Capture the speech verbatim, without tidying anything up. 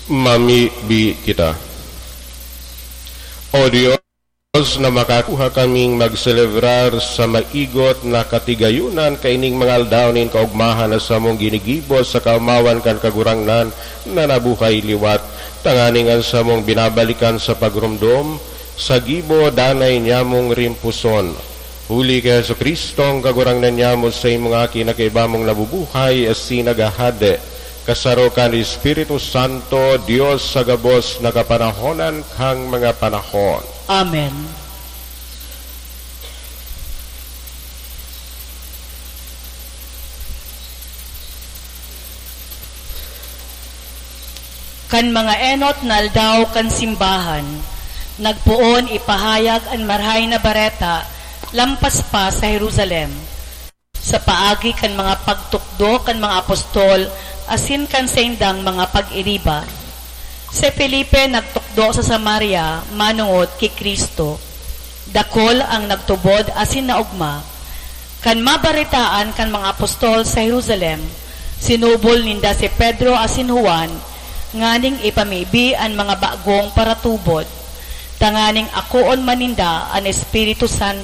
Mamibi kita. O Dios, na makakuha kaming magselebrar sa maigot na katigayunan kaining mga aldaw nin kaogmahan na samong ginigibo sa kaomawan kan Kagurangnan na nabuhay liwat, tanganing an samong binabalikan sa pagromdom sa gibo danay niyamong rimpuson. Huli ki Jesu-Cristo, ang Kagurangnan niyamo, sa imong Aki na kaiba mong nabubuhay asin naghahade, kasaro kan Espiritu Santo, Dios sa gabos na kapanahonan kan mga panahon. Amen. Kan mga enot na aldaw kan simbahan, nagpoon ipahayag an Marahay na Bareta lampas pa sa Jerusalem, sa paagi kan mga pagtukdo kan mga apostol asin kan saindang mga pag-iriba. Si Felipe nagtukdo sa Samaria manongod ki Cristo. Dakul ang nagtubod asin naogma. Kan mabaretaan kan mga apostol sa Jerusalem, sinubol ninda si Pedro asin Juan nganing ipamibi an mga bagong paratubod, tanganing akoon man ninda an Espiritu Santo.